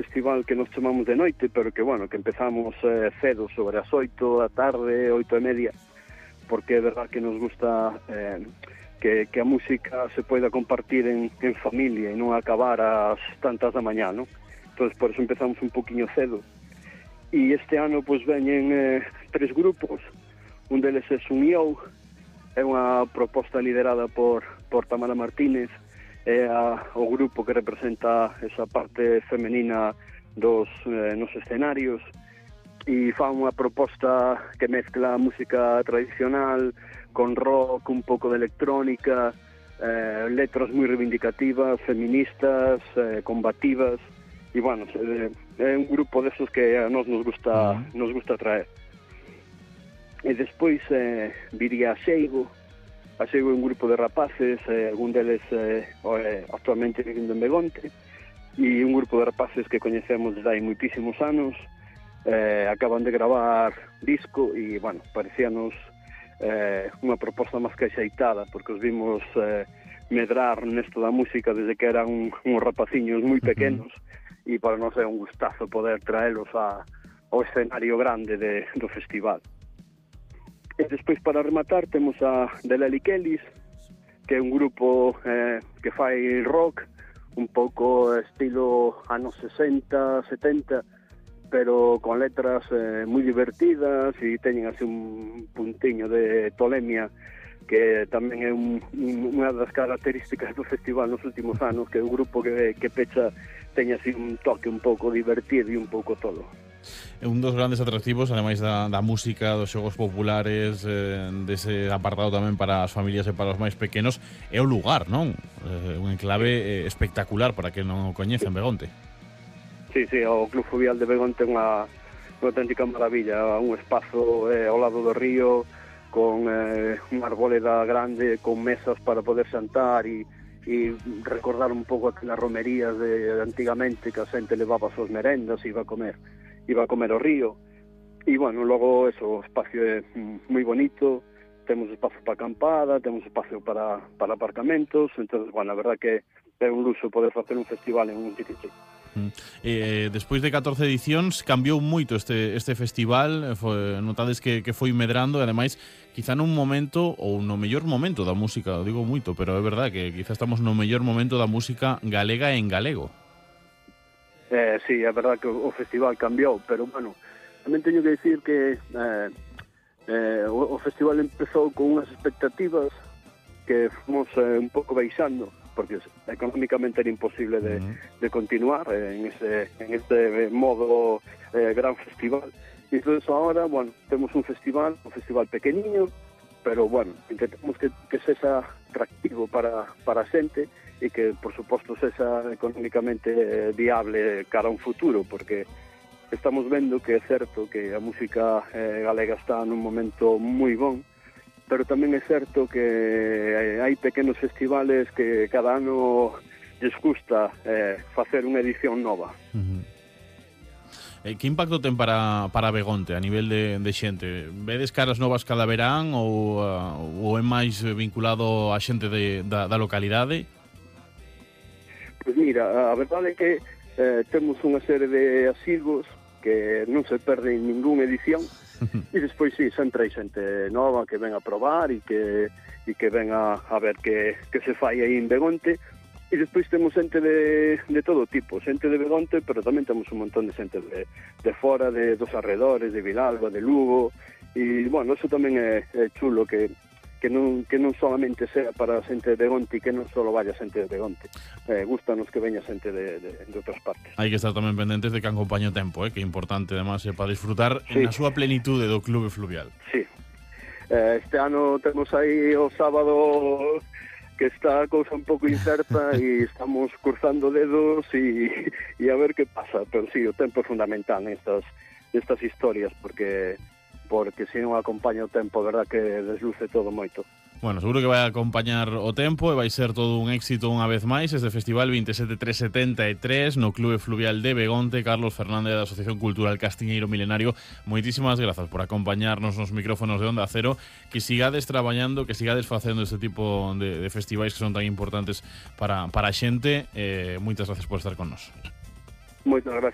festival que nos chamamos de noite, pero que, bueno, que empezamos cedo, sobre as 8 da tarde, 8:30, porque é verdad que nos gusta que a música se poida compartir en familia e non acabar ás tantas da mañá, non? Entón, por eso empezamos un poquinho cedo. E este ano, pois, veñen 3 grupos. Un deles é Sunyou, é unha proposta liderada por Tamara Martínez, é o grupo que representa esa parte femenina nos escenarios, e fa unha proposta que mezcla música tradicional con rock, un pouco de electrónica, letras moi reivindicativas, feministas, combativas, e, bueno, é un grupo desos que a nos gusta traer. E despois viría a Seigo é un grupo de rapaces, algún deles actualmente vivindo en Begonte, e un grupo de rapaces que coñecemos desde hai moitísimos anos. Acaban de gravar disco e, bueno, parecíanos unha proposta máis que axeitada, porque os vimos medrar nesto da música desde que eran uns rapaciños moi pequenos, e para nós é un gustazo poder traelos ao escenario grande do festival. E despois, para rematar, temos a The Lely Kellys, que é un grupo que fai rock, un pouco estilo anos 60, 70, pero con letras moi divertidas, e teñen así un puntiño de tolemia, que tamén é unha das características do festival nos últimos anos, que é un grupo que pecha, teña así un toque un pouco divertido e un pouco todo. É un dos grandes atractivos, ademais da música, dos xogos populares, dese apartado tamén para as familias e para os máis pequenos, é o lugar, non? Un enclave espectacular para que non o coñecen, Begonte. Sí, o Club Fluvial de Begonte é unha auténtica maravilla, un espazo ao lado do río, con unha arboleda grande, con mesas para poder xantar e recordar un pouco aquelas romerías de antigamente, que a xente levaba as súas merendas e iba a comer ao río. E, bueno, logo o espacio é moi bonito, temos espacio para acampada, temos espacio para aparcamentos, entón, bueno, a verdad que é un luxo poder facer un festival en un sitio así. Despois de 14 edicións cambiou moito este festival, notades que foi medrando, e ademais quizá nun momento, ou no mellor momento da música, o digo moito, pero é verdad que quizá estamos no mellor momento da música galega en galego. Sí, é verdad que o festival cambiou, pero, bueno, tamén teño que dicir que o festival empezou con unhas expectativas que fomos un pouco baixando, porque económicamente era imposible de continuar en este modo gran festival. E entón, ahora, bueno, temos un festival pequeniño, pero, bueno, intentamos que sexa atractivo para a xente, e que, por suposto, sexa económicamente viable cara a un futuro, porque estamos vendo que é certo que a música galega está nun momento moi bon, pero tamén é certo que hai pequenos festivales que cada ano lles gusta facer unha edición nova. Que impacto ten para Begonte a nivel de xente? Vedes caras novas cada verán ou é máis vinculado a xente da localidade? Pois mira, a verdade é que temos unha serie de asiduos que non se perden ningunha edición, e despois sí, sempre hai xente nova que ven a probar e que ven a ver que se fai aí en Begonte, e despois temos xente de todo tipo, xente de Begonte, pero tamén temos un montón de xente de fora, dos arredores, de Vilalba, de Lugo, e, bueno, eso tamén é chulo, que non solamente sea para a xente de Begonte e que non só vaya xente de Begonte. Gustanos que veña xente de outras partes. Hai que estar tamén pendentes de que acompañe o tempo, que é importante, además, para disfrutar na súa plenitude do Clube Fluvial. Sí. Este ano temos aí o sábado que está a cousa un pouco incerta e estamos cruzando dedos e a ver que pasa, pero sí, o tempo é fundamental nestas historias, porque se non acompaña o tempo, verdad que desluce todo moito. Bueno, seguro que vai acompañar o tempo e vai ser todo un éxito unha vez máis este Festival 27373 no Clube Fluvial de Begonte. Carlos Fernández, da Asociación Cultural Castiñeiro Milenario, moitísimas grazas por acompañarnos nos micrófonos de Onda Cero, que sigades traballando, que sigades facendo este tipo de festivais que son tan importantes para a xente. Moitas gracias por estar con nos. Moitas gracias.